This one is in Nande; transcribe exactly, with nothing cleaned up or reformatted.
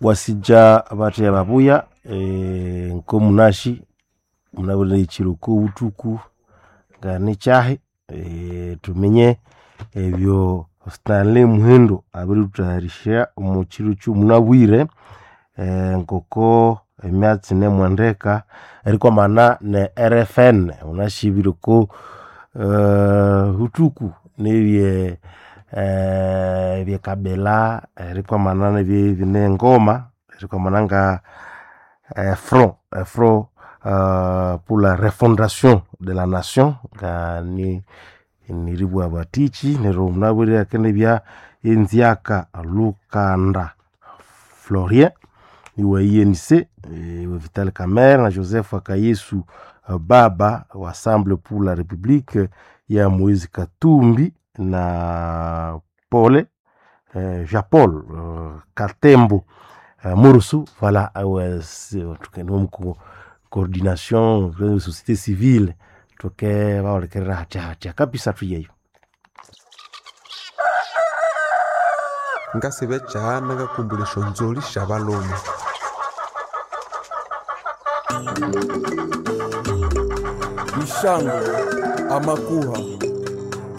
Wasinja abatheya babuya eh, nkomunashi munabwire ekiro kobuthuku nganikyahi eh, tuminye ebyo Stanley Muhindo abirithuthayarisya omu kiro kyomunabwire eh, ngoko emyatsi nemwendeka erikwamana ne R F N munashibire oko eh, buthuku nebye eh, ebyekabila erikwamana nebye nengoma erikwamana nga eh, front eh, front euh, pour la refondation de la nation nga ni niribwa batichi neryo munabwire akenebya enziaka Lukanda Florien iwa U N C eh, wa Vital Kamerhe na Joseph Akayesu eh, baba wa Ensemble pour la République ya Moise Katumbi na Pole eh, Jean Paul eh, Katembo eh, Murusu voilà awe tuke coordination de société civile tuke baolekerera hacha hacha kabisa tuyeyo Ngasiba ekyahana ngakumbula esyonzolhi syabalhume. Ishango, amakuha.